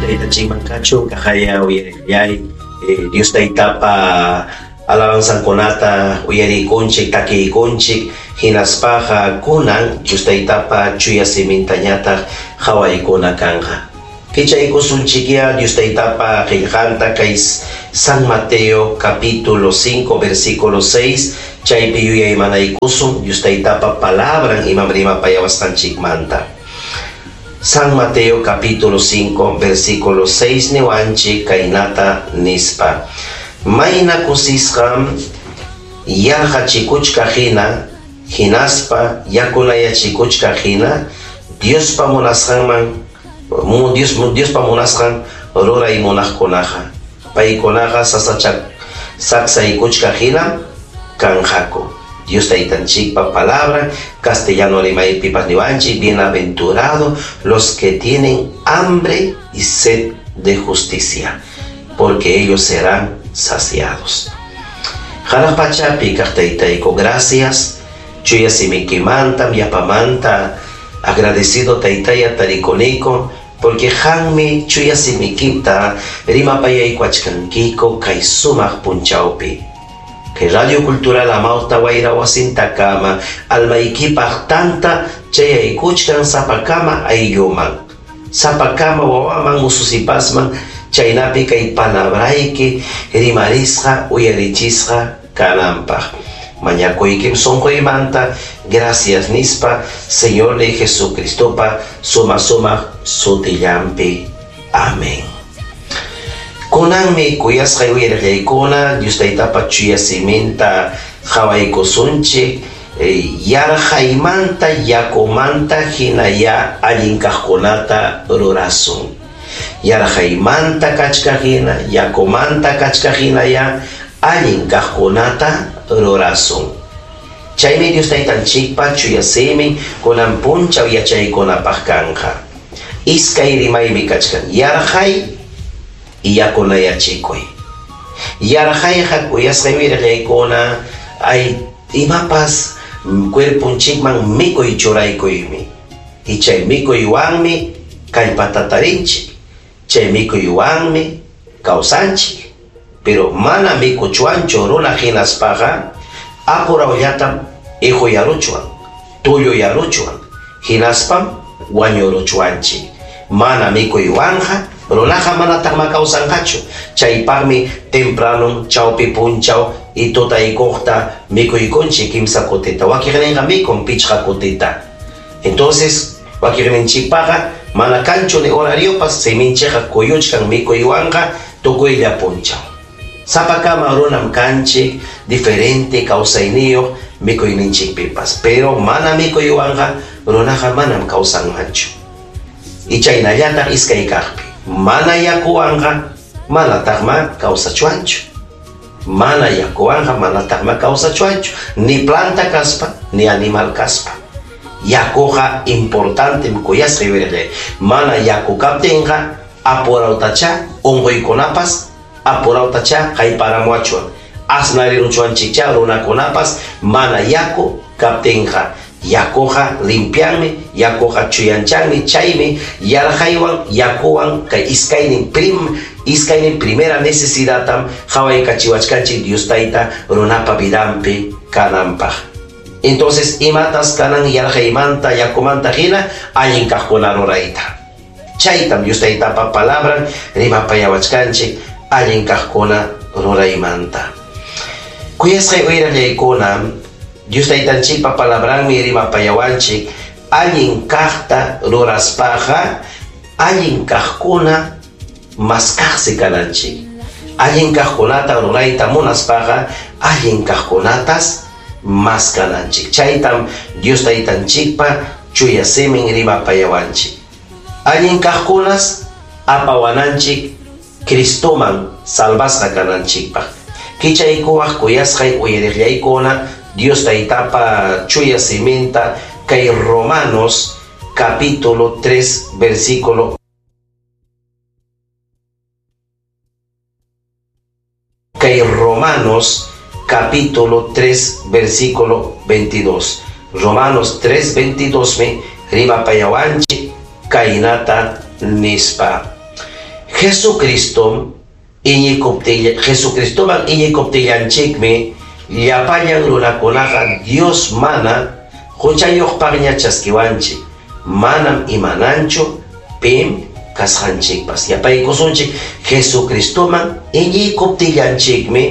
Taytanchikman kachun kaqaya uyarillay Dios Taytapa alabanzankunata uyariykunchik, takiykunchik, hinaspaqa kunan Dios Taytapa chuya simintañataq qawaykuna kanqa. Kichaykusunchikyá Dios Taytapa qillqanta kay San Mateo capítulo 5 versículo 6, chaypi yuyaymanaykusun Dios Taytapa palabran imam rimapayawasqanchikmanta. San Mateo capítulo 5 versículo 6 niwanchik kaynata nispa: Mayna kusisqam yarqachikuchkaq hina, hinaspa yakunayachikuchkaq hina, Diospa munasqanman Diospa munasqan ruray munaqkunaqa. Paykunaqa saksaykuchkaq hinam kanqaku. Dios Taytanchikpa palabra, castellano rimaypipas niwanchik: bienaventurado los que tienen hambre y sed de justicia, porque ellos serán saciados. Hanaq pachapi kaq Taytayku, gracias. Chuya simikimantam yapamanta agradecido Taytaya tarikuniku, porque qammi chuya simikita rimapayaykuachkankiku kay sumaq punchawpi. Kay Radio Cultural Amawta Wayra wasintakama almaykipaq tanta chayaykuchkan sapakama aylluman, sapakama wawaman ususipasman, chaynapi kay palabrayki rimarisqa uyarichisqa kananpaq. Mañakuykim sunquymanta, gracias nispa, Señor de Jesucristopa suma suma sutillampi. Amén. Kunanmi kuyasqay uyariqllaykuna Dios Taytapa chuya siminta qawaykusunchik, yarqaymanta yakumanta hinaya allin kaqkunata rurasun. Yarqaymanta kachkaq hina, yakumanta kachkaq hinaya allin kaqkunata rurasun. Chaymi Dios Taytanchikpa chuya simin kunan punchaw yachaykunapaq kanqa. Iskay rimaymi kachkan: yarqay y yakunayachikuy. Yarqayqa kuyasqay uyariqllaykuna ay imapas cuerponchikman mikuy churaykuymi. Y chay mikuywanmi kallpata tarinchik, chay mikuywanmi kawsanchik. Pero mana mikuchwanchu runa hinaspaqa apurawllatam ihuyaruchwan, tulluyaruchwan, hinaspam wañuruchwanchik. Mana mikuywanqa runaqa manataqma kawsanqachu. Chaypaqmi temprano chawpi punchaw y tutaykuqta mikuykunchik kimsa kutita. Wakiqninqa mikun pichqa kutita. Entonces, wakiqninchikpaqa mana kanchu ni horariopas, siminchikqa kuyuchkan mikuywanqa tukuylla punchaw. Sapakama runam kanchik diferente kawsayniyuq mikuyninchikpipas, pero mana mikuywanqa runaqa manam kawsanmanchu. Y chaynallataq iskay kaqpi, mana yakuwanqa manataqma kawsachwanchu. Mana yakuwanqa manataqma kawsachwanchu, ni planta kaspa, ni animal kaspa. Yakuqa importantem kuyasqay wirillay. Mana yaku kaptinqa apurawtacha unquykunapas apurawtacha hayparamuachwan. Asnariruchwanchikcha runakunapas mana yaku kaptinqa. Yakuqa limpianmi, yakuqa chuyanchanmi, chaymi yarqaywan yakuwan kay iskaynin primera necesidadtam qhawaykachiwachkanchik Dios Tayta runapa vidanpi kananpaq. Entonces, imatas kanan yarqaymanta yakumanta hina allin kaqkuna rurayta. Chaytam Dios Taytapa palabran rimapayawachkanchik allin kaqkuna ruraymanta. Kuyasqay uyarallaykuna, Dios Taytanchikpa palabranmi rimapayawanchik allin kaqta ruraspaqa allin kaqkuna maskaqsi kananchik. Allin kaqkunata rurayta munaspaqa allin kaqkunatas maskananchik. Chaytam Dios Taytanchikpa chuya simin rimapayawanchik. Allin kaqkunas apawananchik Cristoman salvasqa kananchikpaq. Kichaykuwaq kuyasqay uyariqllaykuna Dios Taytapa chuya siminta kay Romanos capítulo 3 versículo kay Romanos capítulo 3 versículo 22. Romanos 3 22 me rimapayawanchik kaynata nispa. Jesucristom iñikuptilla Jesucristoman iñikuptillanchikmi llapallan runakunaqa Dios mana huchayuqpaqña chaskiwanchik, manam imananchu pim kasqanchikpas. Yapaykusunchik, Jesucristoman iñikuptillanchikmi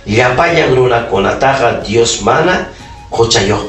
llapallan runakunataqa Dios mana huchayuqpaq.